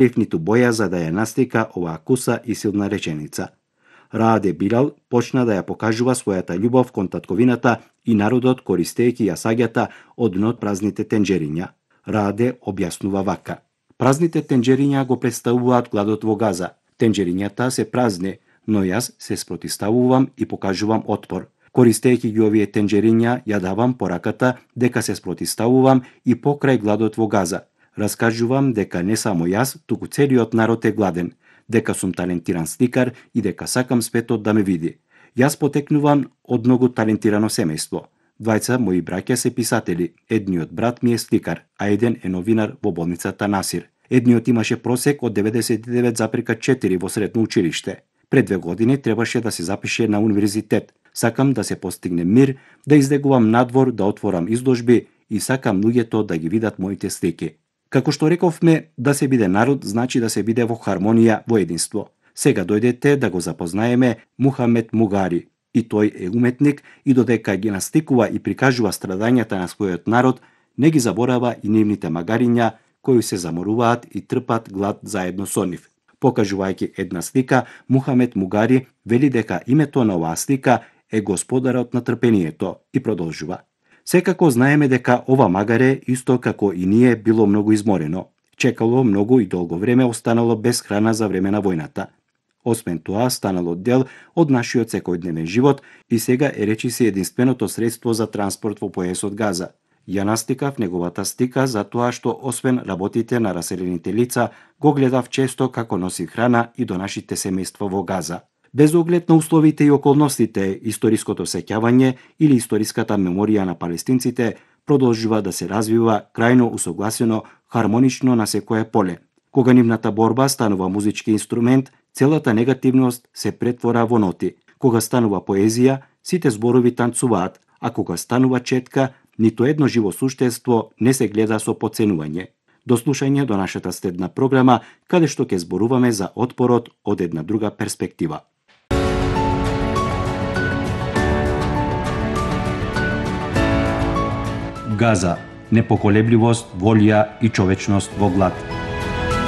ниту боја за да ја настика оваа куса и силна реченица. Рааде Билал почна да ја покажува својата љубов кон татковината и народот користејќи ја саѓата од дно празните тенџериња. Рааде објаснува вака: празните тенџериња го представуваат гладот во Газа. Тенџерињата се празни, но јас се спротивставувам и покажувам отпор. Користејќи ги овие тенџериња, ја давам пораката дека се спротивставувам и покрај гладот во Газа. Раскажувам дека не само јас, туку целиот народ е гладен, дека сум талентиран сликар и дека сакам светот да ме види. Јас потекнувам од многу талентирано семејство. Двајца мои браќа се писатели, едниот брат ми е сликар, а еден е новинар во болницата Насир. Едниот имаше просек од 99,4 во средно училиште. Пред 2 години требаше да се запише на универзитет. Сакам да се постигне мир, да излегувам надвор, да отворам изложби и сакам луѓето да ги видат моите слики. Како што рековме, да се биде народ значи да се биде во хармонија, во единство. Сега дојдете да го запознаеме Мухамед Мугари. И тој е уметник и додека ги настикува и прикажува страдањата на својот народ, не ги заборава и нивните магариња кои се заморуваат и трпат глад заедно со нив. Покажувајќи една слика, Мухамед Мугари вели дека името на оваа слика е Господарот на трпението и продолжува: секако знаеме дека ова магаре, исто како и ние, било многу изморено. Чекало многу и долго време, останало без храна за време на војната. Освен тоа, станало дел од нашиот секојдневен живот и сега е речиси единственото средство за транспорт во појасот Газа. Ја настикав неговата стика затоа што освен работите на раселените лица, го гледав често како носи храна и до нашите семејства во Газа. Без оглед на условите и околностите, историското сеќавање или историската меморија на палестинците продолжува да се развива крајно усогласено, хармонично на секое поле. Кога нивната борба станува музички инструмент, целата негативност се претвора во ноти. Кога станува поезија, сите зборови танцуваат, а кога станува четка, ниту едно живо суштество не се гледа со потценување. До слушање до нашата следна програма, каде што ќе зборуваме за отпорот од една друга перспектива. Газа, непоколебливост, волја и човечност во глад.